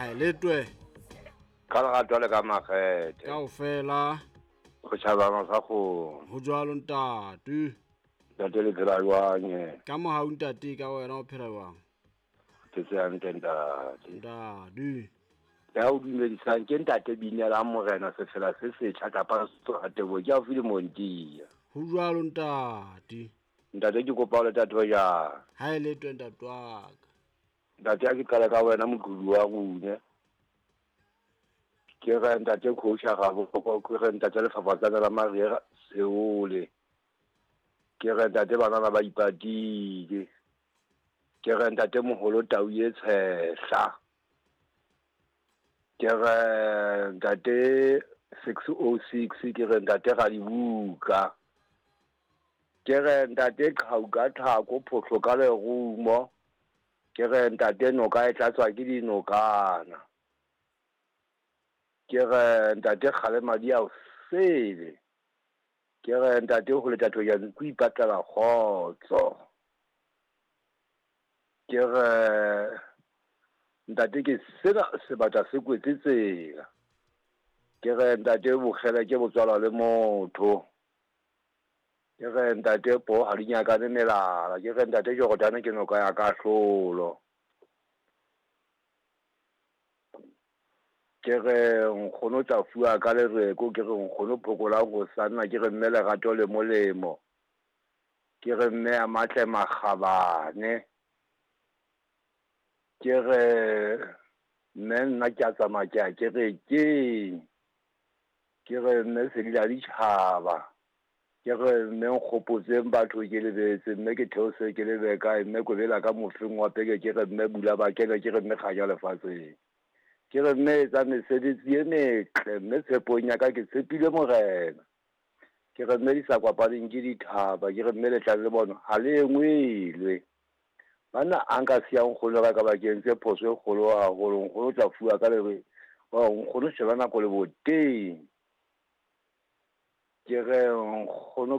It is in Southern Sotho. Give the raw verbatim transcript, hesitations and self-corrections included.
Ha e letwe. Ka lerato le ka makgethe. Kaofela. Go tjhabana sa kgomo. Ho jwalo ntate. Ntate le phela jwang eh? Ka mohau ntate ka wena o phela jwang? Ke tse hantle ntate. Ntate. Ya o dumedisang ke ntate Binelang Morena sefela se setjha kapa Setsohatebo ke haufi le Montia. Ho jwalo ntate. Ntate ke kopa o le tate jang? Ha e letwe ntate wa ka. Ntate a ke qala ka wena moqulu wa rune. Ke re ntate coach ga bo ke re ntate lefafatsana la Maria Seole. Ke re ntate banana ba ipatile. Ke re ntate moholo tau e tshehla. Ke re ntate six oh six ke re ntate ga dibuka. Ke re ntate qhau ka thako phohlo ka lerumo. Ke re ntate noka e tlatswa ke dinokana. Ke re ntate kgale madi a o sele. Ke re ntate ho le tatho ya nku ipatlela kgotso. Ke re ntate ke sena sebata se kwetse tsela. Ke re ntate bokgele ke botswalwa le motho. Ke re ntate po ha di nyakane melala. Ke re ntate Jordane ke noka ya kahlolo. Ke re nkgono tla fuwa ka lereko. Ke re nkgono phokolang ho sanna. Ke re mme lerato le molemo. Ke re mme a matle makgabane. Ke re mme nna ke a tsamaya ke a kerekeng. Ke re mme sedila ditjhaba. Ke re mme nkgopotseng batho ke lebetse mme ke theose ke lebe kae mme kobela ka mofeng wa peke. Ke re mme bula ba kene. Ke re mme kganya lefatsheng. Ke re mme etsa mesebetsi e metle mme tshepong ya ka ke tshepile Morena. Ke re mme di sa kwapaneng ke dithaba. Ke re mme letlang le bona ha le engwelwe. Banna a nka siya nkgono ka ka bakeng tse phoso e kgolo haholo. Nkgono tla fuwa ka lere nkgono sheba nako le boteng. Ke re nkgono